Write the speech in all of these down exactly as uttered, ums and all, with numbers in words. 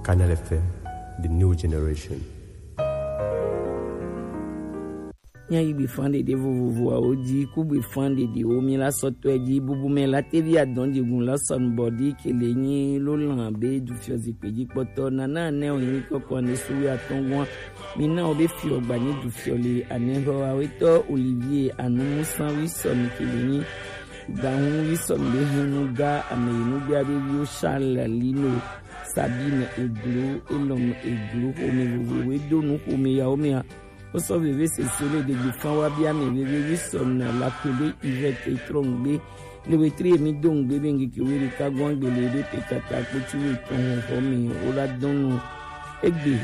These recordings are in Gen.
Canal F M, the new generation. Míayi gbefan ɖeɖe vovovoawo dzi, ku gbefan ɖeɖewo míla sɔtɔe dzi. Bubumɛ la tevi adɔn dzigun la sɔn bɔdi kele nyi lo lan be dufiɔ zikpe dzi kpɔtɔ nana ne o nyi kɔkɔ ne suwi atɔngua. Mina o be fiɔ gba nyi dufiɔ le anehɔ awetɔ Olivier Anumusa wi sɔn kele nyi. Gahun wi sɔn be hunu ga ame yi nu bia be viwo Charles Lino, Sabine Eglo, Elom Eglo, xome vovovoe do nu xome yawo mea. Wosɔ veve sese le ɖegbe fan wa bia ame veve wi sɔn na la kpe be Yvette Etrɔngbe, le wetri emi do ŋgbe be ŋgeke we ɖeka gɔn gbe le be pe kata kpotsi we tɔn xɔ me wo la dɔn nu. Egbe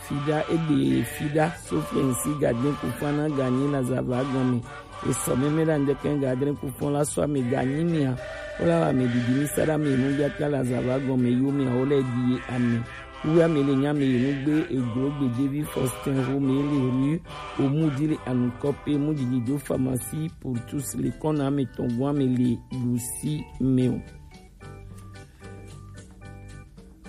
fida, egbe fida, Sophie Nsi Gadin Kufana Gani la zava gɔme. Esɔ mɛmɛ la ŋdɛkɛ ga adrɛ kufɔn la sɔ ame ganyi mia. Wo la wa ame didi mi sa ɖa me nu bia ta la zava gɔme yo mia wo lɛ di ame. Wo ya me le nya me nu gbe eglo gbe David Faustin ho me le ru o mu di le anu kɔpe mu didi do pharmacie pour tous le kɔna me tɔn gwa me le lusi me o.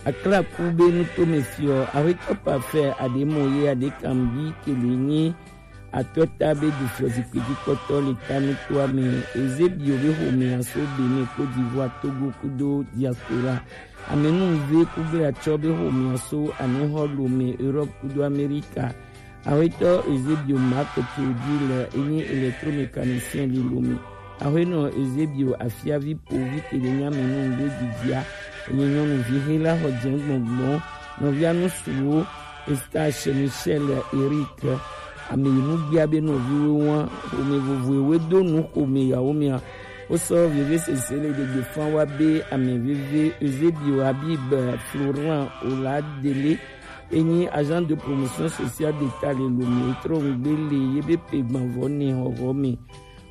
Aklaku be nuto me fiɔ, awetɔ pafɛ aɖe mɔ ye aɖe kan bi kele nyi atɔta be du fiɔ zikpui dzi kpɔtɔ le ta nutoa me. Ezebio be xomea so Benin, Côte d'Ivoire, Togo kudo diaspora. Amenuve kugbe atsɔ be xomea so anexɔ lome Europe kudo Amerika. Awetɔ Eusebio Marc Théodule enyi électromécanicien le Lomé. Awenɔ Eusebio Afiavi Povi Teɖenyamɛnu Ŋɖe Didia enyi nyɔnuvi he la xɔ jɛn gbɔngbɔn nɔvia nusuwo Eustache Michel Eric ameyinugbia be nɔviwo wa xome vovoewe do nu xome yawo mia. Wosɔ veve sese le ɖegbe fan wa be ame veve Eusebio Habib Florent Oladele enyi agent de promotion sociale d'État le Lomé trɔ ŋgbe le ye be pe gbanvɔ ne xɔxɔ me.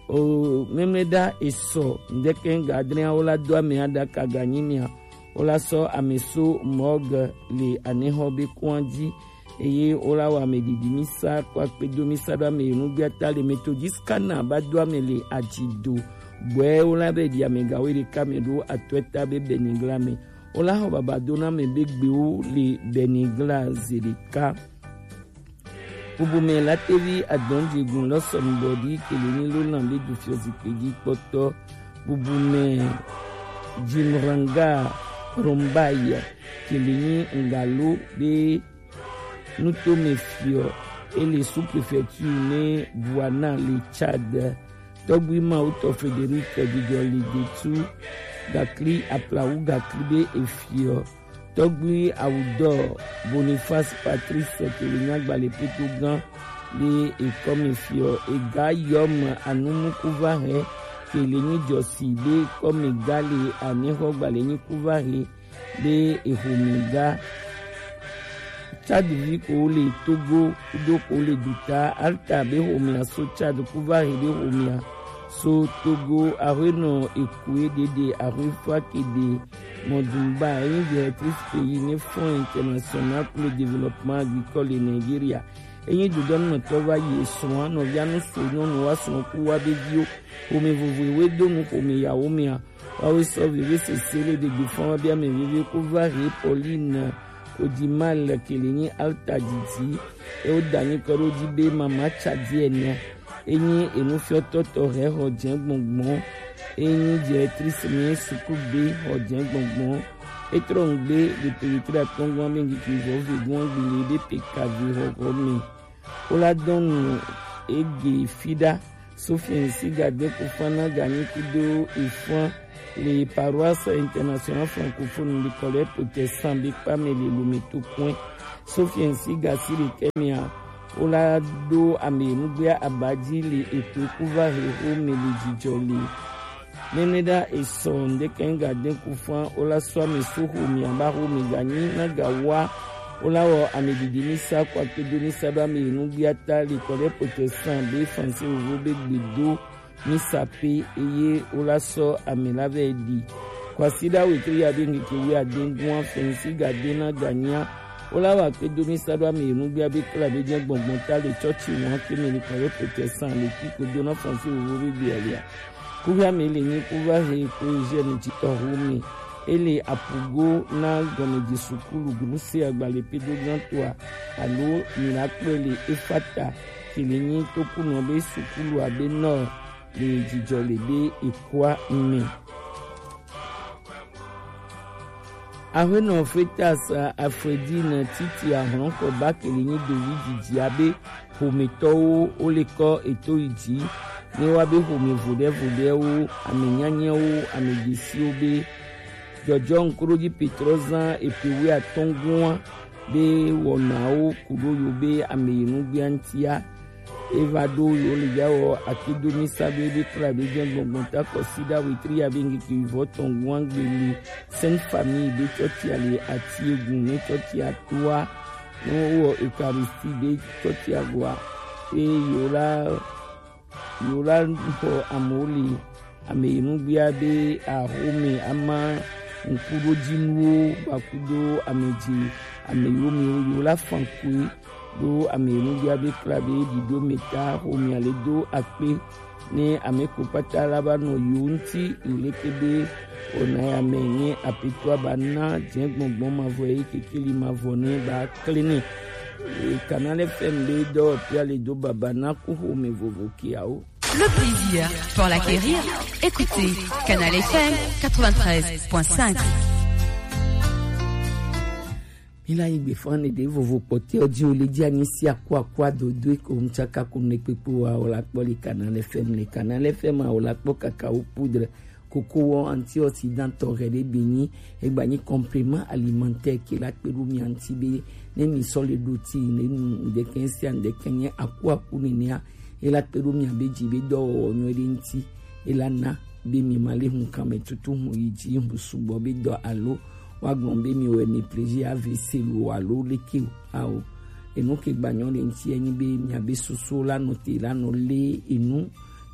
O mɛmɛ ɖa esɔ ŋdɛkɛ ŋga adrɛawo la do ame aɖaka ganyi mia. Wo la sɔ ame so mɔge le anexɔ be kɔn dzi eye wo la wɔ ame ɖiɖi misa kɔ akpe do misa ɖo ame yi nugbia ta le metodis kana ba do ame le adzi do. Gbɔɛ wo la be ɖi ame gawo ɖeka me ɖo atɔɛ ta be Benigla me. Wo la xɔ baba do na ame be gbewo le Benigla zeɖeka. Bubumɛ la tevi adɔn dzegun lɔ sɔnubɔ ɖi kele ni lo lan be du fiɔ zikpe dzi kpɔtɔ. Bubumɛ Jimranga Rombai kele ni ngalo be nutome fiɔ ele sous-préfecture ne Buana le Tchad. Tɔgbui Mawutɔ Frédéric Dudɔ Ligetu gakli aplawu gakli be efiɔ. Tɔgbui Awudɔ Boniface Patrice kele nyagba le poto gan be ekɔme fiɔ ega yɔm anumukuva he kele nyi jɔsi be kɔme ga le anexɔ gba le nyi kuva he be exome ga. Tchad vi ko le Togo kudo ko le duta alta be xomea so Tchad kuva he be xomea so Togo ahuenɔ ekue ɖeɖe ahuefa kede mɔdunba enyi directrice pays ne Fonds International pour le Développement Agricole de Nigeria. Enyi dodɔnumɛtɔ va yi esrɔ̃a nɔvia nu so nyɔnu wa srɔ̃ ku wa be viwo xome vovoewe do nu xome yawo mea. Wawe sɔ veve sese le ɖegbe fɔn wa be ame veve ko va he Pauline Odimal kele nyi alta didi. E wo da nyi kɔ ɖo dzi be mama tsa di ene. Enyi enufiɔtɔ tɔ he xɔ jɛ gbɔngbɔn. Enyi directrice mi suklu be xɔ jɛ gbɔngbɔn. Etrɔ ŋgbe le peyetri atɔngɔn be ŋkeke vɔ ve gɔn gbele be pekavi xɔxɔ me. Wo la dɔn nu ege fi ɖa. Sophie Nsiga de ko fan na ganyi kudo efan le Paroisse Internationale Francophone le Collège Protestant be kpa me le Lomé to kɔn. Sophie Nsiga si le kɛmia wo la do ame nugbea abadzi le ekpe kuva he xo me le dzidzɔ le. Nene ɖa esɔ ŋdeke ŋga de ku fan wo la sɔ ame so xo mi aba xo mi ganyi na ga wa wo la wɔ ame didi mi sa kɔ akpedo mi sa ɖo ame yi nugbia ta le kɔ ɖe protestant be français vovo be gbedo mi sa pe eye wo la sɔ ame la vɛ ɖi. Kwasi ɖa wetri ya be ŋkeke wi ade ŋgua fɛnsi ga de na ganyia wo la wɔ akpedo mi sa ɖo ame yi nugbia be kla be jɛ gbɔngbɔn ta le tsɔtsi wɔn ke me le kɔ ɖe protestant le kiko do na français vovo be gbe alia. Kuvi ame le nyi kuva he ko Eugène Titɔ Home. Ele apugo na gɔmeji sukulu gbluse agbalẽ pedo gãtɔa, alo mi la kpɔe le Efata, ke le nyi tokunɔ be sukulu abe nɔ le jijɔ le be ekua me. Aƒenɔ Fetas Afredine titi ahlɔnkɔ ba ke le nyi dovi didi abe ƒometɔwo wo le kɔ eto yi dzi ne wa be ƒome voɖevoɖewo, ame nyanyɛwo, ame dzesiwo be jɔjɔ ŋkuɖodzi Petrɔ zã epe wuiatɔ̃ gua be wɔnawo ku ɖo yo be ame yi nugbea ŋutia. Eva ɖo yo le ya wɔ akedo mi sa be be kpla be jɛ gbɔngbɔn ta kɔsi ɖa wetri ya be ŋkeke vɔ tɔn gua gbe le Sainte Famille be tsɔtsia le ati egun ne tsɔtsia toa ne wowɔ Eucharistie be tsɔtsia goa. Eye yo la yo la xɔ amewo li ame yi nugbea be axome ama ŋkuɖodzinuwo va kudo ame dzi ame yiwo mi yo la fan koe ɖo ame yi nugbea be kpla be ɖiɖo me ta xomea le do akpe ne ame ko kpata la va nɔ yo ŋuti yi leke be wɔna ya me nye apetoa ba na dze gbɔngbɔn mavɔ eye kekeli mavɔ ne ba kle ne. Canal F M be dɔwɔƒea le do baba na ku xome vovo kiawo. Le plaisir pour l'acquérir, écoutez Canal F M quatre-vingt-treize point cinq. Mi la yi gbe fan ne ɖe vovo kpɔtɛ ɔdi o le dzi anyi si akua akua dodo ko mtsaka ko ne kpekpe wa o la kpɔ le Canal F M le Canal F M a o la kpɔ kaka o poudre koko wɔ antioxydant tɔ hɛ ɖe be nyi egba nyi complément alimentaire ke la kpe ɖo mia ŋuti be ne mi sɔ le ɖo ti ne nu ŋdɛkɛ sia ŋdɛkɛ nye aku aku nenea e la kpe ɖo mia be dzi be dɔwɔwɔ nyuie ɖe ŋuti e la na be mi ma le hun kan me tutu hun yi dzi hun sugbɔ be dɔ alo wa gblɔ be mi wɔ méprisé A V C lo alo leke o ao enu ke gba nyɔ le ŋuti enyi be mia be susu la nɔ te la nɔ le enu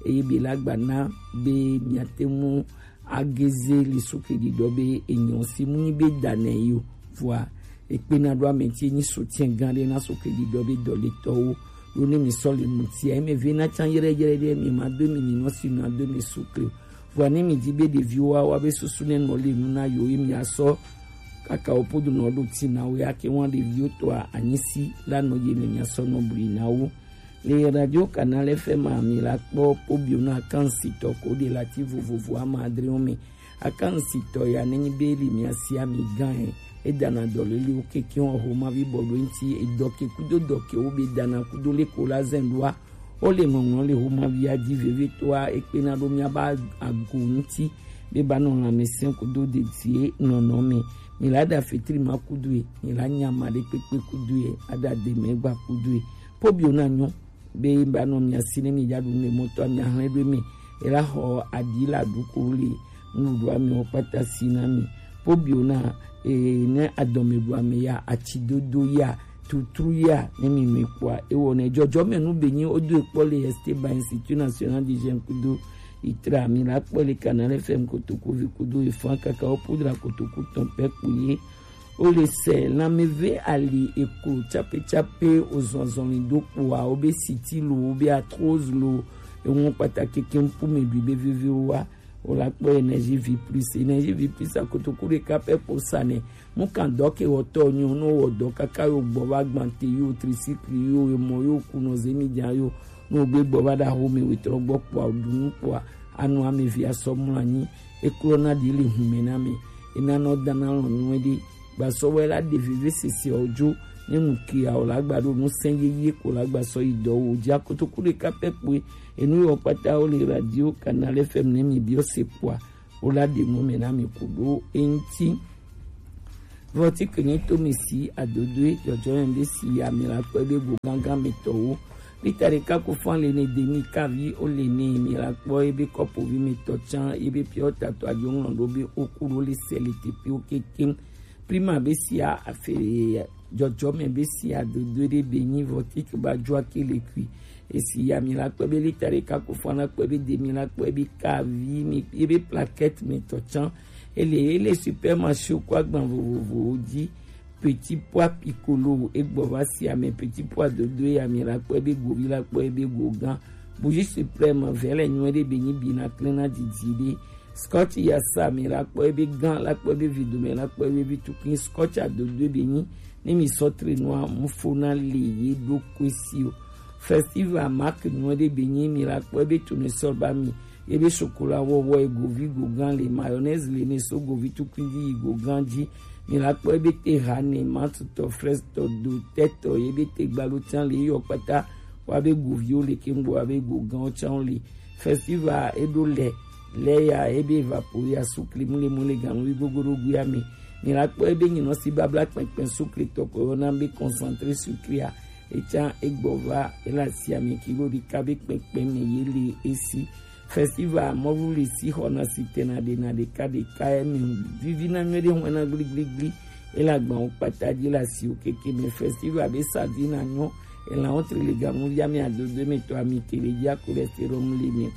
eye be la gba na be miate ŋu ageze li suke ɖiɖɔ be enyɔ si mu nyi be da nɛ yi o vɔa ekpena ɖo ame ti enyi soutien gã ɖe na suke ɖiɖɔ be dɔletɔwo ɖo ne mi sɔ le ŋutia eme ve na tsan yɛrɛyɛrɛ ɖe mi ma do mi ninɔ si nɔ do mi sukle o vɔa ne mi di be ɖeviwo wa wa be susu ne nɔ le nu na yo ye mi asɔ kaka wo podo nɔ ɖo ti na wo ya ke wa ɖeviwo tɔa anyi si la nɔ ye ne mi asɔ nɔ bli na wo. Le Radio Canal F M a mi la kpɔ pobio na akansitɔ ko de lati vovovo ama adrewo me. Akansitɔ ya nenyi be li mi asi ami gan e. E dana dɔleliwo keke wɔn homavi bɔbɔ ŋuti edɔ ke kudo dɔ ke wo be dana kudo le ko la zɛn ɖoa. Wo le ŋɔŋlɔ le homavia dzi vevitɔa ekpena ɖo miaba ago ŋuti be ba nɔ lãmesẽ kudo dedie nɔnɔ me. Mi la ɖa fetri ma kudo e, mi la nya ma ɖe kpekpe kudo e, aɖa demɛ gba kudo e. Pobio na nyɔ be ba nɔ mia si ne mi dza ɖu ne mɔtɔ mi ahlɛ ɖo mi ela xɔ aɖi la ɖu ko le nuɖuɖu mi wo kpata si na mi pobio na e ne adɔme ɖu ame ya ati dodo ya tutru ya ne mi mi kpɔa ewɔ ne dzɔdzɔme nu be nyi o do ekpɔ le Esteban Institut National du Jeune kudo itra mi la kpɔ le Canal F M kotoku vi kudo efan kaka o pudra kotoku tɔn pɛ kpo ye. Wo le se lanmeve ali eklo tsape tsape ozɔzɔli do kpoa wo be siti lo wo be arthrose lo eŋu kpata keke ŋkume ɖui be vivi wo wa wo la kpɔ Energie Vie Plus. Energie Vie Plus akotoku ɖeka pɛ kpo sa nɛ mu kan dɔ ke wɔtɔ nyo no wɔ dɔ kaka yo gbɔ va gbante yo tricycle yo emɔ yo kunɔ zemi dza yo no gbe gbɔ va ɖa xome wetrɔ gbɔ kpoa ɖu nu kpoa anu ame vi asɔ mlɔ anyi eklɔna ɖi le hume na me enanɔ dana lɔ nyuie ɖe gbasɔ wɛ la ɖe vevesese ɔ dzo ne nu ke a o la gba ɖo nu sɛn yeye ko la gbasɔ yi dɔ wo dzi akotoku ɖeka pɛ kpoe enu yɔ kpata wo le radio Canal F M ne mi biɔ se kpoa wo la ɖe nu me na mi ku ɖo eŋti. Vɔti ke nyi to mi si adodoe dzɔdzɔ yɛn ɖe si ya mi la kpɔ ebe go gangan mi tɔwo. Lita ɖeka ko fɔn le ne demi kavi o le ne mi la kpɔ ebe kɔpovi mi tɔ tsan ebe piɔ tatɔ adzo ŋlɔ ɖo be o ku ɖo le sɛ le teƒewo kekeŋ. Prima be sia afe dzɔdzɔme be sia dodo ɖe be nyi vɔti ke ba dzɔ ake le kui. Esi ya mi la kpɔ be lita ɖeka ko fɔn la kpɔ ebe demi la kpɔ ebe kavi mi ebe plaquette mi tɔ tsan. Ele ele supermarché ko agban vovovowo dzi. Petit pois piccolo egbɔ va si ame petit pois dodo ya mi la kpɔ ebe govi la kpɔ ebe go gã. Bougie suprême vɛ le nyuie ɖe be nyi bi na klẽ na didi ɖe. Scotch Yasa, mi la kpɔ ebe gan, la kpɔ ebe vi dome, la kpɔ ebe vi tukui. Scotch Adodo ebe nyi, ne mi sɔ tre nua, mu fo na le ye ɖo kue si o. Festival Mark nua ɖe be nyi, mi la kpɔ ebe tournesol ba mi, ebe chocolat wɔwɔ e govi go gan le, mayonnaise le ne so govi tukui ji yi go gan ji. Mi la kpɔ ebe te ha ne, mantutɔ, fraise tɔ, do tɛtɔ, ebe te gbalo can le yɔ kpata, wa be goviwo le ke ŋgbo wa be go gan can le. Festival eɖo lɛ, lɛ ya ebe evapori ya sukli mule mule ganu wi gogo ɖo gui ame. Mi la kpɔ ebe nyinɔ si babla kpɛnkpɛn sukli tɔ ko yɔna be concentré sucré a, ecan egbɔ va ela si ame kilo ɖeka be kpɛnkpɛn me ye le esi. Festival mɔlu le si xɔna si tena ɖe na ɖeka ɖeka eme vivi na nyuie ɖe hɔn na gbligbligbli. Ela gban wo kpata ji la si o keke me festival be sa vi na nyɔ. Ela wo tri le ganu ya mi adodo me to ami kele ya cholestérol le mi.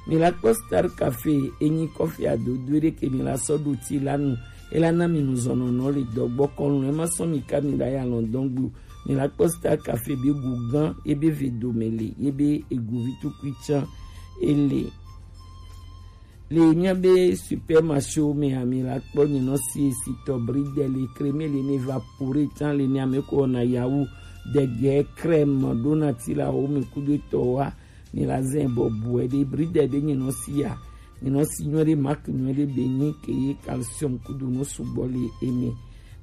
Mi la kpɔ Star Café, enyi kɔfi adodo ɖe ke mi la sɔ ɖo ti la nu. Ela na mi nu zɔnɔnɔ le dɔgbɔ kɔnu, ema sɔ mi ka mi la ya lɔndɔn gbu. Mi la kpɔ Star Café be gu gan, ebe ve dome le, ebe egu vi tukui can, ele. Le mia be supermarché me a mi la kpɔ nyinɔ si esi tɔ bridel le crème le ne va pure can le ne ame ko na yawu dege crème ɖo na ti la wo me kudo tɔ wa. Mi la zɛn bɔ buɛ ɖe bridel be nyinɔ si ya. Nyinɔ si nyuie ɖe marque nyuie ɖe be nyi ke ye calcium kudo nu sugbɔ le eme.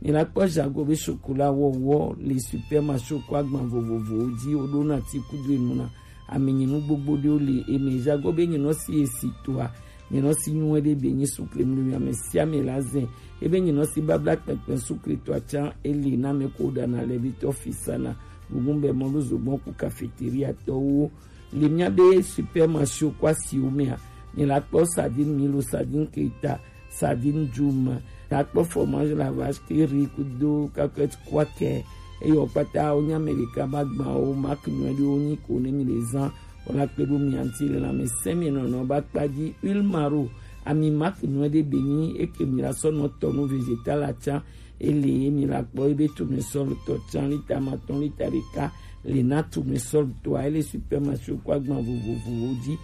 Mi la kpɔ jago be chocolat wɔwɔ le supermarché ko agban vovovowo ji wo ɖo na ti kudo enu na. Ami nyinu gbogbo ɖewo le eme. Jago be nyinɔ si esi toa, nyinɔ si nyuie ɖe be nyi sukle mlu mi ame sia ame la zɛn. Ebe nyinɔ si babla kpɛnkpɛn sukle toa can ele na me ko ɖana le bi tɔ fisana. Gugun be mɔlu zogbɔn ku cafétéria tɔwo. Le mia be supermarché ko asiwo mea, mi la kpɔ sardine milo, sardine keta, sardine djuma, la kpɔ fromage la vache qui rit kudo cacahuète kwakɛ. Eyɔ kpata wo nya Amerika ba gban wo marque nyuie ɖe wo nyi ko ne mi le zan. Wo la kpe ɖo mi anti le la me sɛ mi nɔnɔ ba kpa ji huile maro, ami marque nyuie ɖe be nyi eke mi la sɔ nɔ tɔ nu végétal la can. Ele ye mi la kpɔ ebe tournesol tɔ can lita matɔn lita ɖeka le na tournesol tɔa ele supermarché ko agban vovovowo ji.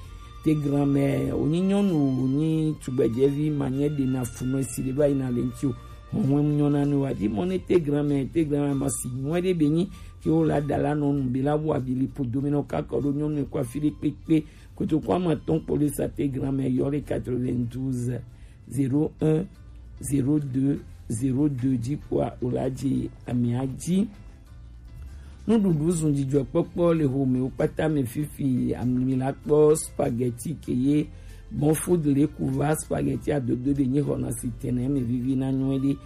Te grand-mère, wonyi nyɔnu, wonyi tugbedzɛvi, manyɛ ɖe na funɔ esi ɖe va yi na le ŋti o. Hɔnhɔn nyɔ na nu wa di mɔ ne te grand-mère, te grand-mère ma si nyuie ɖe be nyi ke wo la da la nɔ nu be la wo abi li po dome nɔ kaka ɖo nyɔnu ko afi ɖe kpekpe. Kotoku ama tɔn kpo le sa te grand-mère yɔ le quatre-vingt-douze zéro un zéro deux zéro deux ji kpoa o la ji amia ji. Nuɖuɖu zun dzidzɔkpɔkpɔ le homewo kpata me fifi, ami la kpɔ spaghetti ke ye bon food le kuva spaghetti adodo be nyi xɔna si tene me vivi na nyuie ɖe.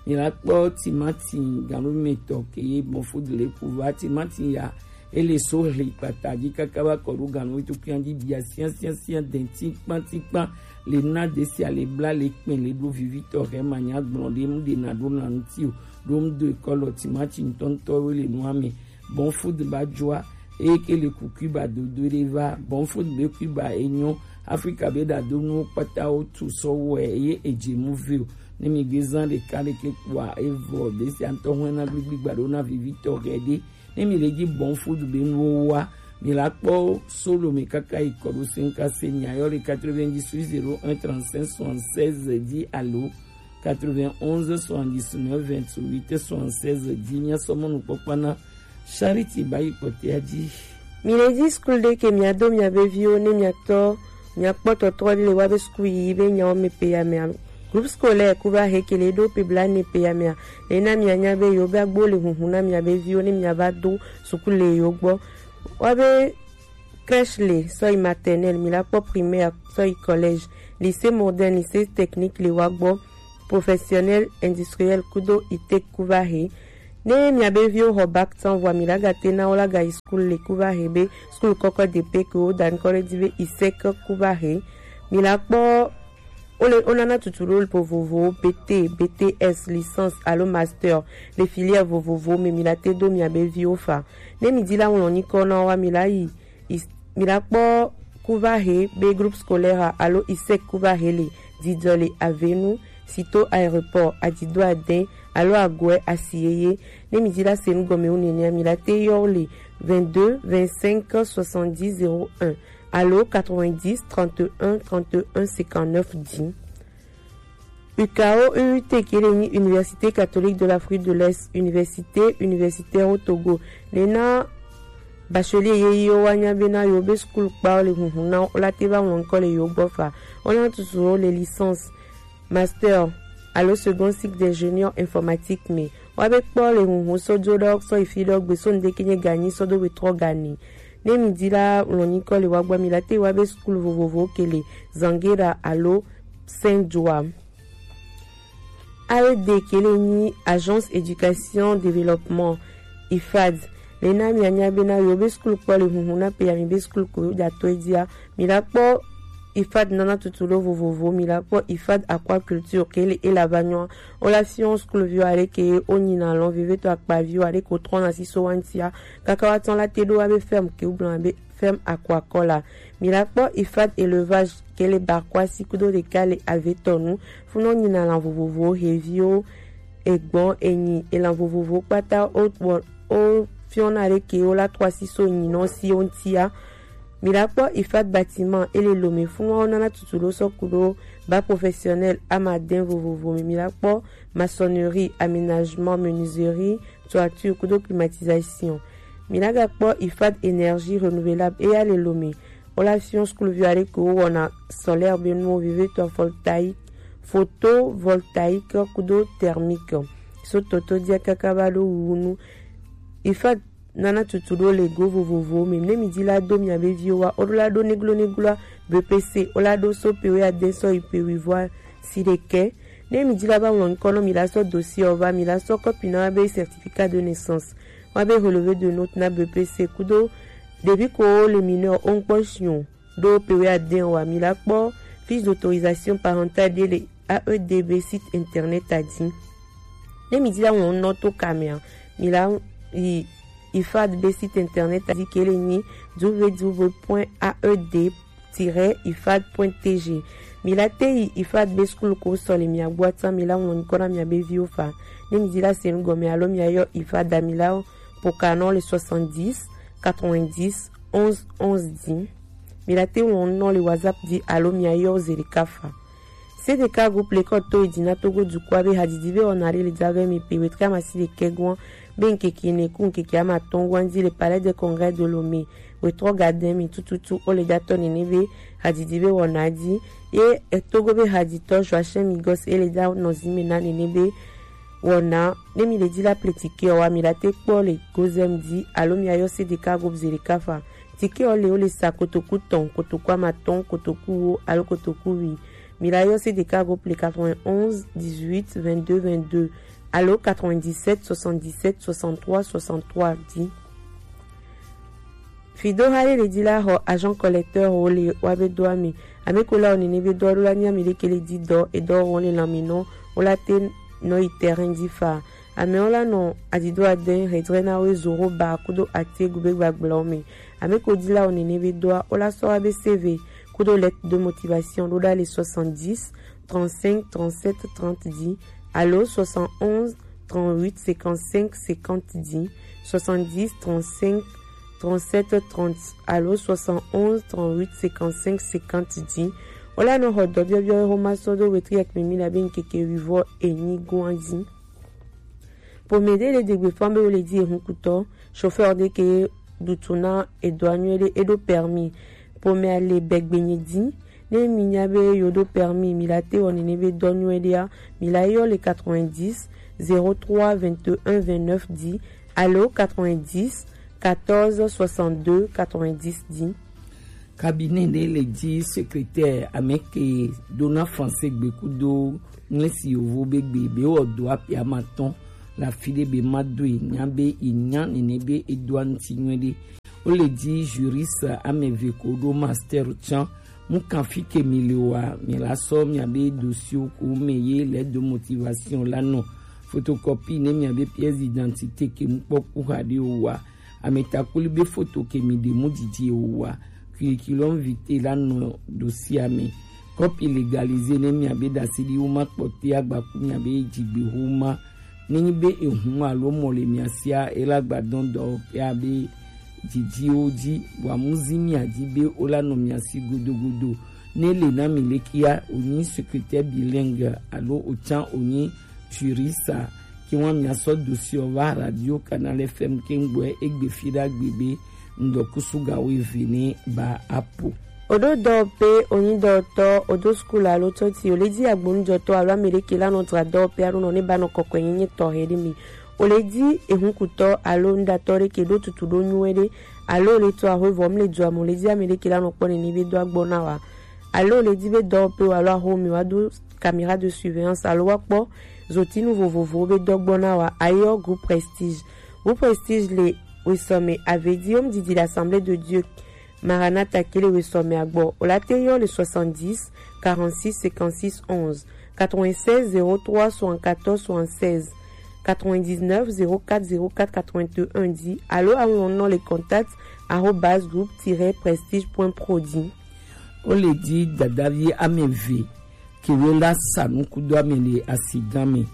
Mi la kpɔ timati ganumetɔ ke ye bon food le kuva timati ya ele so hli kpata ji kaka va kɔ ɖo ganu to kian ji bia sian sian sian den tikpan tikpan le na de sia le bla le kpɛn le ɖo vivitɔ hɛ ma nya gblɔ ɖe mu ɖe na ɖo na ŋti o ɖo mu do ekɔ lɔ timati ŋtɔŋtɔ wo le nua me. Bon food ba joa eye ke le ku Cuba dodo ɖe va. Bon food be Cuba enyɔ Afrika be ɖa do nuwo kpata wo tu sɔ wɔ eye edze mu ve o. Ne mi gbe zan ɖeka ɖeke kpoa evɔ ɖe sia ŋtɔ hɔn na gbigbi gba ɖo na vivitɔ hɛ ɖe. Ne mi le ji bon food be nuwo wa, mi la kpɔ solo me kaka yi kɔ ɖo se ŋka se mi ayɔ le quatre-vingt-dix-huit zéro un trente-cinq soixante-seize dix alo quatre-vingt-onze soixante-dix-neuf vingt-huit soixante-seize dix. Mia sɔ mɔnukpɔkpɔ na Charity ba yi kpɔtɛa ji. Mi le ji skul ɖe ke mia do mia be viwo ne mia tɔ mia kpɔ tɔtrɔ ɖe le wa be skul yi be nyawo me pe ya mea. Groupe scolaire ku va he ke le ɖo pe bla ne pe ya mea. Le na mia nya be yo be agbo le hunhun na mia be viwo ne mia va do sukulu le yo gbɔ. Wa be crèche le sɔ yi maternelle, mi la kpɔ primaire sɔ yi collège, lycée moderne, lycée technique le wa gbɔ, professionnel, industriel kudo ITEC ku va he. Ne mia be viwo xɔ bac tɔn vɔa mi la ga te na wo la ga yi skul le ku va he be skul kɔkɔ de pe ke wo da ŋkɔ ɖe di be ISEC ku va he. Mi la kpɔ wo le wo nana tutu ɖo vovovowo B T, B T S, licence alo master le filière vovovowo me mi la te do mia be viwo fa. Ne mi di la ŋlɔ nyikɔ na wo wa mi la yi Is-, mi la kpɔ ku va he be groupe scolaire alo ISEC ku va he le didɔ le Avenu, sito aéroport, adido adɛn alo agɔɛ asi yeye. Ne mi di la se nu gɔme wu nenea mi la te yɔ wo le vingt-deux vingt-cinq soixante-dix zéro un alo quatre-vingt-dix trente et un trente et un cinquante-neuf dix. U K O U T ke le nyi Université Catholique de l'Afrique de l'Est, Université Universitaire au Togo. Le na bachelier ye yi o wa nya be na yo be school kpa o le hunhun na o la te ba ŋlɔ ŋkɔ le yo gbɔ fa. O na tutu o le licence, master alo second cycle d'ingénieur informatique me. Wa be kpɔ le hunhun so jo ɖɔ sɔ yi fi ɖɔ gbe so ŋde ke nye ganyi sɔ do we trɔ gani. Ne mi di la ŋlɔ nyikɔ le wa gbɔ mi la te wa be school vovovo ke le Zangera alo Saint Joa. A E D ke le nyi Agence Éducation Développement, I F A D. Le na mi anya be na yo be school kpɔ le hunhun na pe ya mi be school ko ja to e dia. Mi la kpɔ I F A D nana tutu lo vovovo, mi la kpɔ I F A D aquaculture ke le e la va nyɔ. O la fiɔ school vi wa le ke o nyi na lɔn veve to akpa vi wa le ko trɔ na si so wa ntia. Kaka wa tɔn la te do wa be ferme ke o blan be ferme aquacole la. Mi la kpɔ I F A D élevage ke le Barkwa si kudo ɖeka le Avetɔnu. Funu nyi na lan vovovo, heviwo, egbɔn, enyi, elan vovovo kpata o, o, o fiɔna ɖe ke o la trɔ si so nyi nɔ si o ŋtia. Mi la kpɔ I F A D bâtiment e le Lomé, funu wa o nana tutu ɖo sɔ kudo bac professionnel amadin vovovo me. Mi la kpɔ maçonnerie, aménagement, menuiserie, toiture kudo climatisation. Mi la ga kpɔ I F A D énergie renouvelable e ya le Lomé. O la fiɔ school vi wa ɖe ke o wɔna solaire be nuwo veve to voltaïque, photovoltaïque kudo thermique. So toto dia kaka ba ɖo wuwu nu. I F A D nana tutu ɖo le go vovovowo me. Ne mi di la do mia be viwo wa, o ɖo la ɖo neglo neglo a B P C, o la ɖo so pe we ade sɔ yi pe wi voa si ɖekɛ. Ne mi di la va ŋlɔ ŋkɔ nɔ mi la sɔ dossier ɔ va, mi la sɔ kɔpi na wa be certificat de naissance, wa be relevé de note na B P C kudo ɖevi ko wo le mineur o ŋkpɔ si o ɖo pe we ade ɔ wa, mi la kpɔ fiche d'autorisation parentale ɖe le A E D be site internet a di. Ne mi di la ŋlɔ nɔ to ka mea, mi la yi I F A D be site internet a di ke le nyi w w w point A E D tiret I F A D point T G. Mi la te yi I F A D be school ko sɔ le mia gbɔ atan mi la ŋlɔ nyikɔ na mia be viwo fa. Ne mi di la se nu gɔme alo mia yɔ I F A D a mi la po ka nɔ le soixante-dix quatre-vingt-dix onze onze di. Mi la te ŋlɔ nɔ le WhatsApp di alo mia yɔ ze ɖeka fa. C D K groupe le kɔ to yi di na Togo dukɔa be hadidi be wɔna ɖe le dza vɛ mi pe wetre amasi ɖekɛ gɔn be ŋkeke ne ku ŋkeke amatɔn gɔn di le Palais des Congrès de Lomé. Wetrɔ gadin mi tututu o le datɔ nene be hadidi be wɔna di. Ye Togo be haditɔ Joachim Migos e le da nɔ zi me na nene be wɔna. Ne mi le di la ple tike ɔ wa mi la te kpɔ le gozem di alo mi ayɔ C D K groupe ze ɖeka fa. Tike ɔ le o le sa kotoku tɔn, kotoku amatɔn, kotoku wo alo kotoku wi. Mi la yɔ C D K groupe le quatre-vingt-onze dix-huit vingt-deux vingt-deux alo quatre-vingt-dix-sept soixante-dix-sept soixante-trois soixante-trois di. Fido ha ye le di la xɔ agent collecteur wo le wa be dɔa mi. Ame ko la o nene be dɔa ɖo la nya mi ɖe ke le di dɔ e dɔ wɔn le lanme nɔ o la te nɔ yi terrain di fa. Amewo la nɔ adido adɛn hedrɛ na wo zoro ba kudo atiegu be gbagblɛwo me. Ame ko di la o nene be dɔa o la sɔ wa be C V kudo lettre de motivation ɖo ɖa le soixante-dix trente-cinq trente-sept trente di alo soixante-onze trente-huit cinquante-cinq cinquante di, soixante-dix trente-cinq trente-sept trente alo soixante-onze trente-huit cinquante-cinq cinquante di. O la nɔ xɔ dɔ biɔbiɔ xoma sɔ do wetriɛk mi mi la be ŋkeke wivɔ enyi gɔn di. Pome ɖe le degbe fɔn be wo le di ehun kutɔ, chauffeur ɖe ke ɖutu na edɔa nyuie ɖe eɖo permis. Pome a le bɛgbe nye di. Ne mi nya be yo ɖo permis mi la te wɔ nene be dɔ nyuie ɖea, mi la yɔ le quatre-vingt-dix zéro trois vingt et un vingt-neuf di alo quatre-vingt-dix quatorze soixante-deux quatre-vingt-dix di. Cabinet ɖe le dzi secrétaire ame ke dona français gbe kudo ŋlesi yovo be gbe be wɔ do aƒe ama tɔn le afi ɖe be ma do yi nya be yi nya nene be edoa ŋuti nyuie ɖe. Wo le dzi juriste ame eve ko ɖo master tsã. Mu kan fi ke mi le oa, mi la sɔ mia be dossier ko me ye lettre de motivation la nɔ. Photocopie ne mia be pièce d'identité ke mu kpɔ ku xa ɖe oa. Ametakuli be foto ke mi ɖe mu didi oa, curriculum vitae la nɔ dossier me. Copie légalisée ne mia be ɖaseɖi wo ma kpɔte agbaku mia be dzigbe ho ma. Ne nyi be ehun alo mɔ le mia sia, e la gba dɔn dɔ ya be didiwo dzi, wa mu zi mia dzi be wo la nɔ mia si godogodo. Ne le na mi lekia, onyi secrétaire bilingue alo otsan onyi juriste, ke wan mi asɔ dossier va Radio Canal F M ke ngbɔ egbe fi ɖagbe be ŋdɔ kusu ga wo eve ne ba apo. Oɖo dɔwɔƒe, onyi dɔwɔtɔ, odo sukulu alo tsɔtsi, oledi agbonujɔtɔ alo ame ɖe ke la nɔ dzra dɔwɔƒe alo nɔ ne ba nɔ kɔkɔe nyenye tɔxɛ ɖe mi. Oledi ehunkutɔ alo nuɖatɔ ɖe ke ɖo tutu ɖo nyuie ɖe alo ole tɔ ahwe vɔ mle dzɔ ame, oledi ame ɖe ke la nɔ kpɔ nene be do agbɔ na wa. Alo oledi be dɔwɔƒe wa alo axome wa do caméra de surveillance alo wa kpɔ zotinu vovovowo be dɔgbɔ na wa, ayɔ groupe Prestige. Groupe Prestige le wesɔme avedi wo mu didi le Assemblée de Dieu Maranatha ke le wesɔme agbɔ. O la te yɔ le soixante-dix, quarante-six, cinquante-six, onze, quatre-vingt-seize, zéro trois, soixante-quatorze, soixante-seize, quatre-vingt-dix-neuf, zéro quatre, zéro quatre, quatre-vingt-un di alo awlɔn nɔ le contact arobase groupe tiret prestige point pro di. Wo le di dadavi ame eve ke we la sa nukudo ame le asigan me.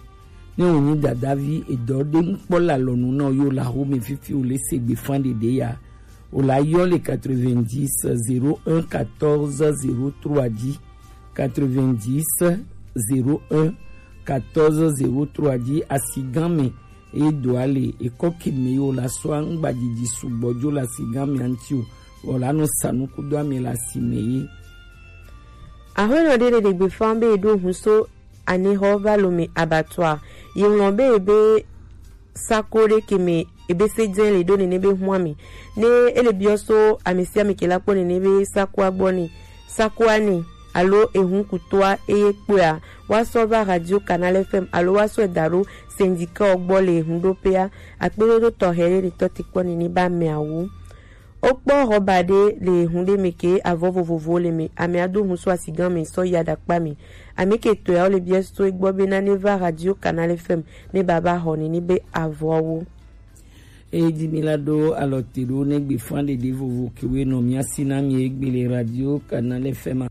Ne wo nyi dadavi edɔ ɖe ŋkpɔ le alɔnu na wo yo la xome fifi wo le se gbe fan ɖeɖe ya. Wo la yɔ le quatre-vingt-dix, zéro un, quatorze, zéro trois di. Quatre-vingt-dix, zéro un, quatorze, zéro trois di asigan me. Eye do ale ekɔ ke me yo la sɔ aŋgba didi sugbɔ jo la si gan me anti o, wɔ la nɔ sa nukudo ame la si me ye. Aƒenɔ ɖe ɖe ɖegbe fan be eɖo hun so anexɔ va lo me abattoir. Ye ŋlɔ be ebe sako ɖe ke me ebe se dze le ɖo nene be hun ame. Ne ele biɔ so ame sia ame ke la kpɔ nene be sakoa gbɔ ne, sakoa ne, alo ehun kutoa eye kpɔea, woasɔ va Radio Canal F M alo woasɔe da ɖo syndicat gbɔ le ehunɖoƒea. Akpedodo tɔxɛ ɖe le tɔ te kpɔ nene be ameawo. Wokpɔ ɣɔba ɖe le ehun ɖe me ke avɔ vovovowo le me. Amea do hun so asigan me sɔ yi aɖakpa me. Ame ke tɔeawo le biɔ so egbɔ be nane va Radio Canal F M ne baba xɔ nene be avɔawo. Eye dzi mi la ɖo alɔ te ɖo ne gbe fan ɖeɖe vovo ke we nɔ mia si na mi egbe le Radio Canal F M.